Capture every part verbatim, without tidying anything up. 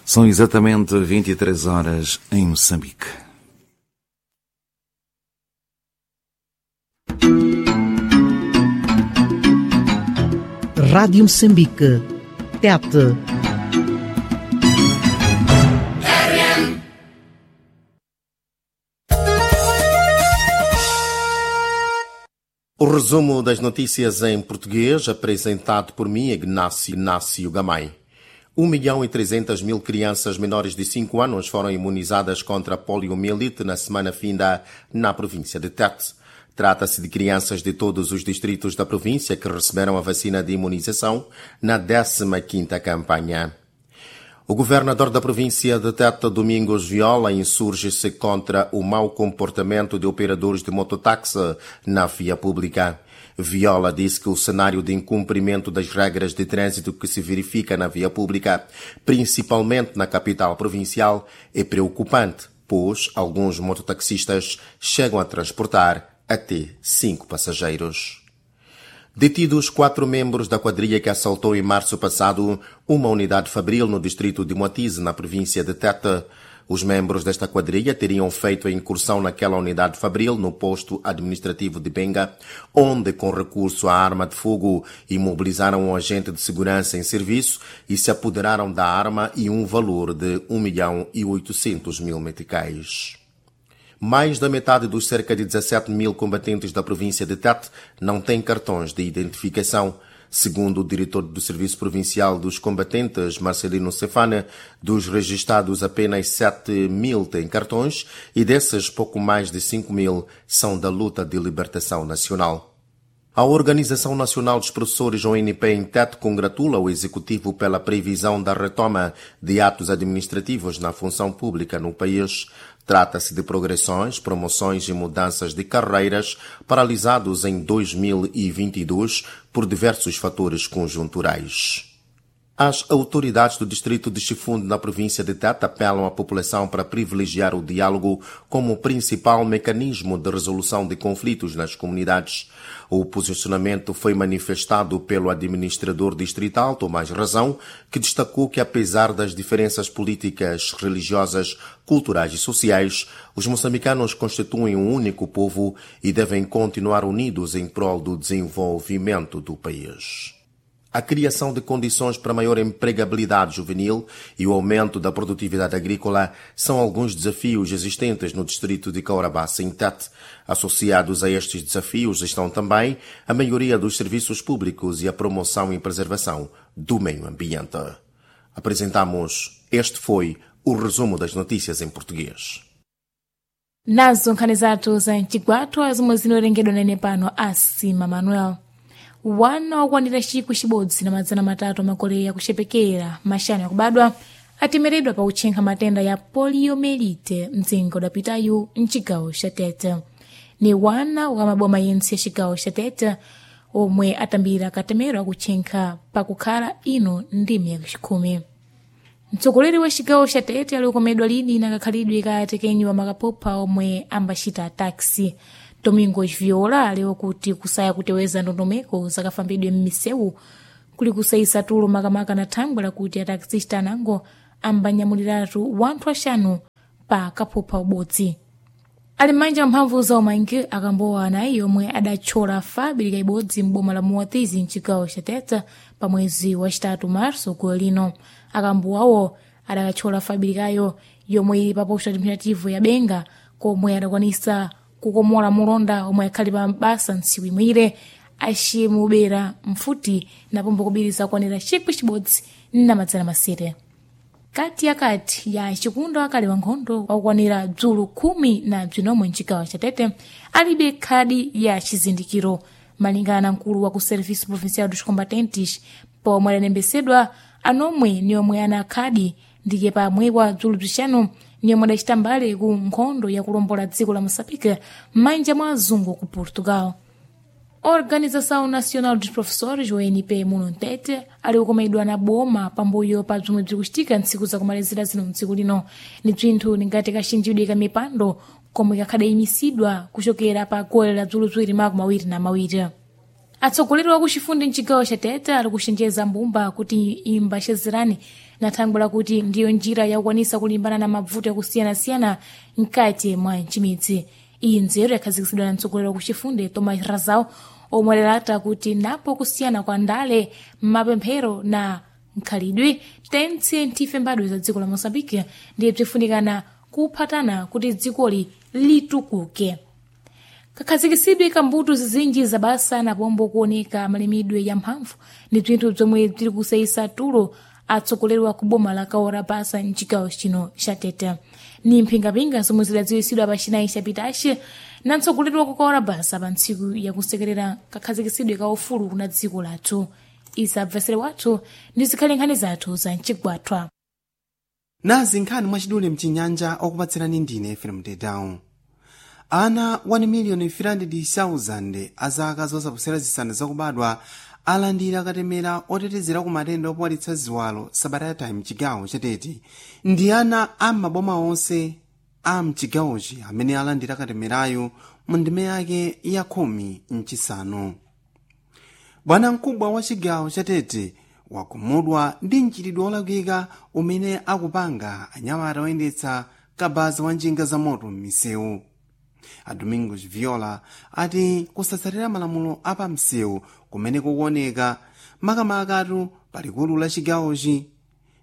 São exatamente vinte e três horas em Moçambique. Rádio Moçambique, Tete. O resumo das notícias em português, apresentado por mim, Ignácio Inácio Gamay. um milhão e trezentas mil crianças menores de cinco anos foram imunizadas contra a poliomielite na semana finda na província de Tete. Trata-se de crianças de todos os distritos da província que receberam a vacina de imunização na décima quinta campanha. O governador da província de Tete, Domingos Viola, insurge-se contra o mau comportamento de operadores de mototáxi na via pública. Viola disse que o cenário de incumprimento das regras de trânsito que se verifica na via pública, principalmente na capital provincial, é preocupante, pois alguns mototaxistas chegam a transportar até cinco passageiros. Detidos quatro membros da quadrilha que assaltou em março passado uma unidade fabril no distrito de Moatize, na província de Tete. Os membros desta quadrilha teriam feito a incursão naquela unidade fabril no posto administrativo de Benga, onde, com recurso à arma de fogo, imobilizaram um agente de segurança em serviço e se apoderaram da arma e um valor de um milhão e oitocentos mil meticais. Mais da metade dos cerca de dezassete mil combatentes da província de Tete não tem cartões de identificação. Segundo o diretor do Serviço Provincial dos Combatentes, Marcelino Cefane, dos registados apenas sete mil têm cartões e desses pouco mais de cinco mil são da luta de libertação nacional. A Organização Nacional dos Professores, O N P, em Tete, congratula o Executivo pela previsão da retoma de atos administrativos na função pública no país. Trata-se de progressões, promoções e mudanças de carreiras paralisados em dois mil e vinte e dois por diversos fatores conjunturais. As autoridades do distrito de Chifunde, na província de Tete, apelam à população para privilegiar o diálogo como principal mecanismo de resolução de conflitos nas comunidades. O posicionamento foi manifestado pelo administrador distrital, Tomás Razão, que destacou que, apesar das diferenças políticas, religiosas, culturais e sociais, os moçambicanos constituem um único povo e devem continuar unidos em prol do desenvolvimento do país. A criação de condições para maior empregabilidade juvenil e o aumento da produtividade agrícola são alguns desafios existentes no distrito de Cahora Bassa, em Tete. Associados a estes desafios estão também a maioria dos serviços públicos e a promoção e preservação do meio ambiente. Apresentamos, este foi o resumo das notícias em português. Nazo nkhani zathu za mchigwathu zomwe zinowerengedwa nene pano asima Manuel. Wana wakwanira chikwi chibodzi na madzana matatu amakoleya kuchepekera maxanu akubadwa atemeredwa pa kutchenkha matenda ya poliomielite mdzinga udapitayu mchigawo cha Tete. Ni wana wa maboma yentse ya chigawo cha Tete omwe atambira katemero akutchenkha pakukhala ino ndimi yakuchikhumi. Mtsogoleri wa chigawo cha Tete ali ukomedwa lini na kakhalidwe ka atekenyi wa makapopha omwe ambachita taxi. Domingos Viola aliwo kuti kusaya kuteweza ndondomeko zakafambidwe m'misewu kuli kusayisa tulo makamaka na thangwi lakuti ataxista anango ambanyamuliratu wanthu axanu pa kaphupha ubodzi. Ali m'manja mphamvu za umangi akambowa anayi omwe adatchola fábrica ibodzi m'boma la Moatize mchigawo cha Tete pa mwezi wacitatu Março golo lino. Akambowawo adakatchola fábricayo yomwe ili pa posto administrativo ya Benga komwe adakwanisa kukomola mulonda omwe akhali pa basa ntsiku imwire acimubera mfuti napombo kubiriza kwanira chikwi chibodzi na madzana masere. Kati yakati ya chikundo akali wa nkhondo wakukwanira bzulu khumi na bzinomwe mchigawo cha Tete alibe khadi ya chizindikiro malingana na mkulu wa ku Serviço Provincial dos Combatentes pomwe adanembesedwa anomwe ni omwe ana khadi ndike pamwewa bzulu bzixanu ni omwe adacita mbale ku nkhondo yakulombola dziko la Moçambique m'manja mwa azungu ku Portugal. Organização Nacional dos Professores, O N P muno Mtete, ali kukomedwa na boma pambuyo pa bzomwe bzikuchitika ntsiku zakumalizira zino mdziko lino. Ni bzinthu ningati kaxinjidwe ka mipando komwe kakhadayimisidwa kuchokera pa gole la bzulu ziwiri makumi awiri na mawiri. Atsogoleri wa kuchifundi mchigawo cha Tete ali kuchenjeza mbumba kuti imbachezerane na thangwi lakuti ndiyo njira yakukwanisa kulimbana na mavuto yakusiyanasiyana mkati mwa nchimidzi. Iyi nzeru yakhazikitsidwa na mtsogoleri wa kuchifundi Thomas Razau, omwe adalata kuti napo kusiyana kwa ndale, mapemphero na nkhalidwe tentse nthife mbadwa za dziko la Moçambique ndiye bzifunikana kuphatana kuti dzikoli litukuke. Kakhazikisidwe kambuto zizinji zabasa na pombo kuoneka malimidwe ya mphamvu ndi bzinthu bzomwe bziri kuseyisa tulo atsogoleri wa kuboma la Kaora Basa mchigawo chino cha Tete. Ni mphingapinga zomwe zidadziwisidwa pa chinayi chapitachi na mtsogoleri wa ku Kaora Basa pa ntsiku yakusekerera kakhazikisidwe ka ufulu kuna dziko lathu. Isabvesere wathu ndi zikhale nkhani zathu za mchigwathwa. Nazi nkhani mwachidule mchinyanja, okupatsirani ndine Efrem Tedown. Ana one million three hundred thousand a zaka zosaposera zisanu zakubadwa alandira katemera otetezera ku matenda opuwalitsa ziwalo sabata yatha mchigawo chatete. Ndi ana a maboma onse a mchigawochi amene alandira katemerayo mu ndime yake ya khumi mchisanu. Bwana mkubwa wa chigawo chatete wakhumudwa ndi mchitidwe wolakwika umene akupanga anyamata oyendetsa kabaza wa njinga za moto m'misewu. A Domingos Viola ati kusatsatira malamulo apamsewu kumene kukuoneka makamakatu palikulu la chigawochi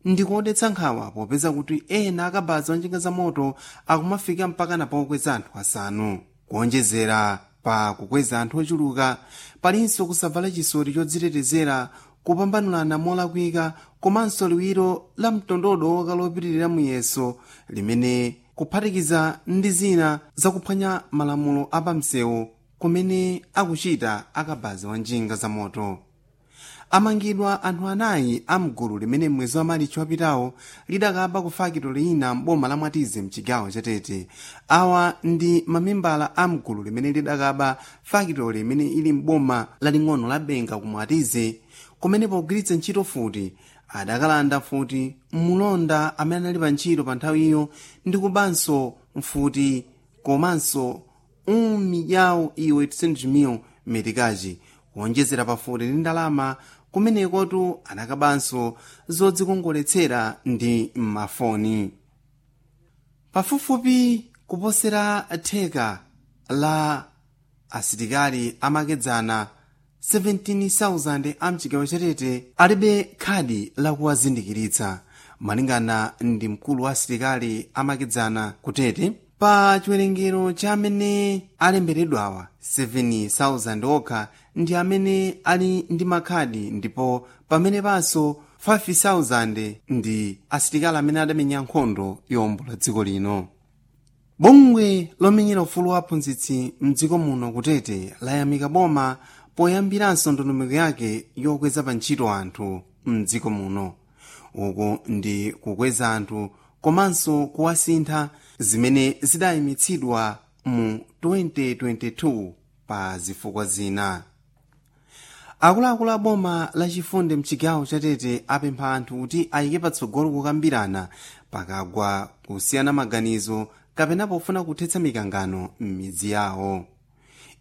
ndikodetsa nkhawa, popeza kuti ena akabaza onjinga za moto akumafika mpaka pokweza anthu asanu. Kuonjezera pa kukweza anthu ochuluka, palinso kusavala chisoti chodzitetezera, kupambanulana molakwika, komanso liwiro la mtondodo woka lopitirira muyeso limene kuphatikiza ndi zina zakuphwanya malamulo apamsewu kumene akuchita akabaza wa njinga za moto. Amangidwa anthu anayi amgulu limene mwezi wa Marichi wapitawo lidakaba ku fakitoli ina m'boma la Mwatize mchigawo chatete. Awa ndi mamembala a mgulu limene lidakaba fakitoli imene ili m'boma laling'ono la Benga ku Mwatize, kumene pogwiritsa ntchito futi adakalanda futi mulonda amene anali pa ntchito pa nthawi iyo ndi kubanso mfuti komanso umidyawo iwe three hundred metikachi. Kuonjezera pafuti ndi ndalama, kumenekotu anakabanso zodzikongoletsera ndi mafoni. Pafupifupi kuposera theka la asilikali amakedzana seventeen thousand a mchigawo chatete alibe khadi lakuwazindikiritsa, malingana ndi mkulu wa asilikali amakedzana kutete. Pa chiwerengero cha amene alemberedwawa, seven thousand okha ndi amene ali ndi makhadi, ndipo pamene panso five thousand ndi asilikali amene adamenya nkhondo yowombola dziko lino. Bungwe lomenyera ufulu wa aphunzitsi mdziko muno kutete layamika boma poyambiranso ndondomeko yake yokweza pa ntchito anthu mdziko muno. Uku ndi kukweza anthu komanso kuwasintha, zimene zidayimitsidwa mu twenty twenty-two pa zifukwa zina. Akuluakulu a boma lachifundi mchigawo chatete apempha anthu kuti ayike patsogolo kukambirana pakagwa kusiyana maganizo kapena pofuna kuthetsa mikangano m'midzi yawo.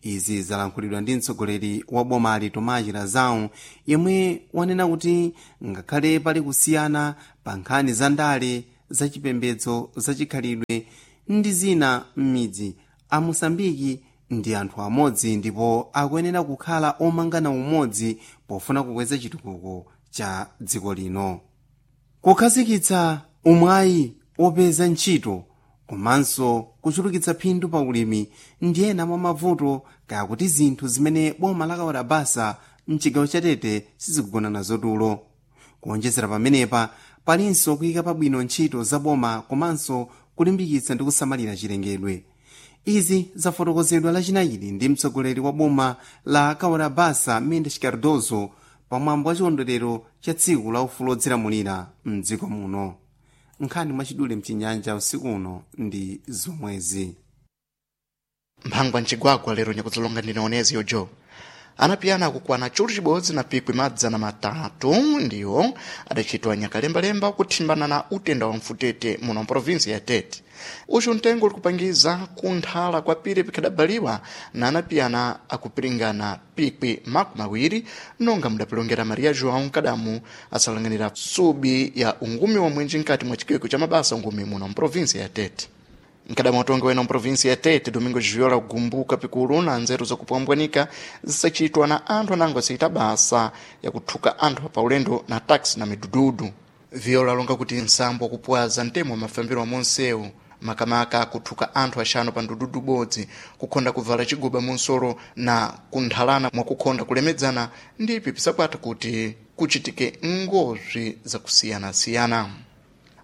Izi zalankhulidwa ndi mtsogoleri wa bomali Tomachi Lazau, yemwe wanena kuti ngakhale pali kusiyana pa nkhani za ndale, zachipembedzo, zachikhalidwe ndi zina m'midzi, Amosambiki ndi anthu amodzi ndipo akuyenera kukhala omangana umodzi pofuna kukweza chitukuko cha dziko lino. Kukhazikitsa umwayi wopeza ntchito komanso kuchulukitsa phindu pa ulimi ndi ena mwa mavuto kaya kuti zinthu zimene boma la Kawarabasa mchigawo chatete sizikugona nazo tulo. Kuonjezera pamenepa, palinso kuyika pabwino ntchito za boma komanso kulimbikitsa ndi kusamalira chilengedwe. Izi zafotokozedwa lachinayiri ndi mtsogoleri wa boma la Kawarabasa Mendes Cardozo pamwambo wa chikondwerero cha tsiku la ufulu odzilamulira mdziko muno. Nkhani mwachidule mchinyanja usiku uno ndi zomwezi. Mphangwa mcigwagwa lero nyakudzalonga ndine oneziyo jo. Anapiyana akukwana chulu chibodzi na pikwi madzana matatu ndiwo adachitwa nyakalembalemba kuthimbana na utenda wa mfutete muno mprovinsi ya Tete. Uchu mtengo uli kupangiza kunthala kwa pire pikhadabaliwa na anapiyana akupiringana pikwi makumi awiri, nonga mudapilongera Maria João Nkadamu asalang'anira subi ya ungumi wa mwenji nkati mwa chikweko cha mabasa ungumi muno mprovinsi ya Tete. Nkadamu watongi wena mprovinsi ya Tete Domingo Viola kugumbuka pikulu na nzeru zakupwambwanika zisachitwa na anthu anango asiyita basa yakuthuka anthu paulendo na taxi na midududu. Viola alonga kuti nsambo wakupwaza mtemo wa mafambiro wa monsewu, makamaka kuthuka anthu axanu pa ndududu bodzi, kukhonda kuvala chiguba munsolo na kunthalana mwakukhonda kulemedzana ndipi pisakwata kuti kuchitike ngozwi zakusiyanasiyana.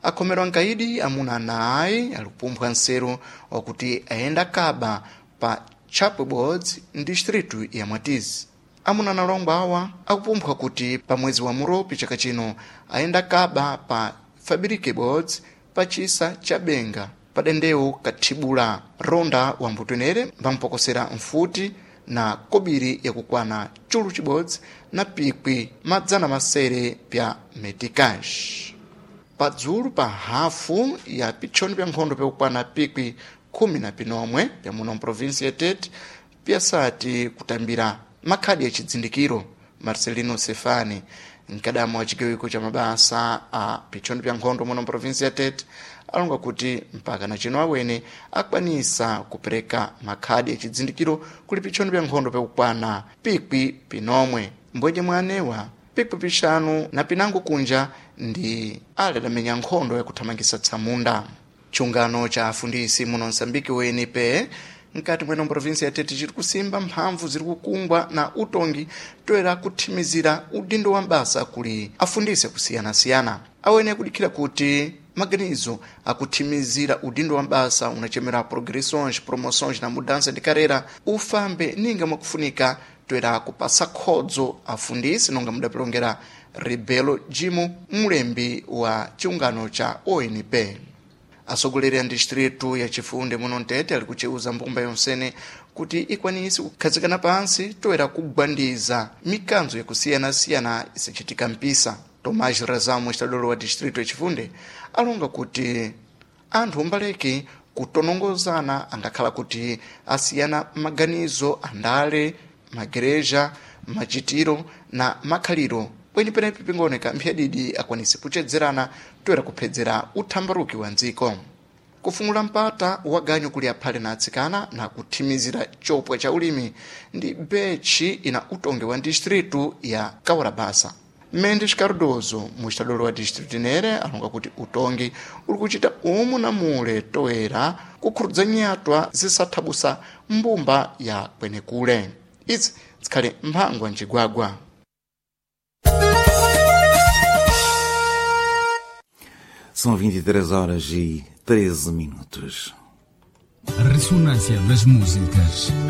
Akhomerwa nkaidi amuna ana ayi alikupumpha nseru wakuti ayenda kaba pa Chapwe Boards distritu ya Mwatizi. Amuna analongwa awa akupumpha kuti pa mwezi wa Muropi chaka chino ayenda kaba pa Fabrique Boards pa chisa cha Benga padendewu kathibula ronda wa mbutenere mpamupokosera mfuti na kobiri yakukwana chulu chibodzi na pikwi madzana masere pya metikash. Padzulu pa hafu ya pitchoni pya nkhondo pyakukwana pikwi khumi na pinomwe pya muno mprovinsi ya Tete pyasati kutambira makhadi ya chidzindikiro. Marcelino Sefani, mkadamu wa chigawiko cha mabasa a pitchoni pya nkhondo muno mprovinsi ya Tete, alonga kuti mpaka na chino awene akwanisa kupereka makhadi ya chidzindikiro kuli pitchoni pya nkhondo pyakukwana pikwi pinomwe, mbwenje mwa anewa pikwi pixanu na pinango kunja ndi ale adamenya nkhondo yakuthamangisa tsamunda. Chungano cha afundisi muno Msambiki U N P mkati mweno mprovinsi ya Tete chiri kusimba mphamvu ziri kukungwa na utongi toera kuthimizira udindo wa mbasa kuli afundisi akusiyana-siyana. Awene akudikhira kuti maganizo akuthimizira udindo wa mbasa unachemera progressões, promoções na mudança de carreira ufambe ninga mwakufunika toera kupasa khodzo afundisi, nonga mudapilongera Rebelo Jimo, mulembi wa chiungano cha O N P. Atsogoleri a distritu ya Chifunde muno Mtete ali kuceuza mbumba yonsene kuti ikwanise kukhazikana pansi toera kugwandiza mikanzo yakusiyanasiyana isachitika mpisa. Tomás Razamo, estadolo wa distritu ya Chifunde, alonga kuti anthu mbaleki kutonongozana angakhala kuti asiyana maganizo andale, magereja, machitiro na makhaliro, bwenyi penepi pingooneka mphyadidi akwanise kuchedzerana toera kuphedzera uthambaruki wa ndziko. Kufungula mpata wa ganyu kuli aphale na atsikana na kuthimizira chopwa cha ulimi ndi betchi ina utongi wa distritu ya Kaurabasa. Mendes Cardoso, muxitadolo wa distritu inere, alonga kuti utongi uli kuchita umu na mule toera kukhurudza nyatwa zisathabusa mbumba ya kwenekule. Izi zikhale mphangwa mcigwagwa. São vinte e três horas e treze minutos. A ressonância das músicas.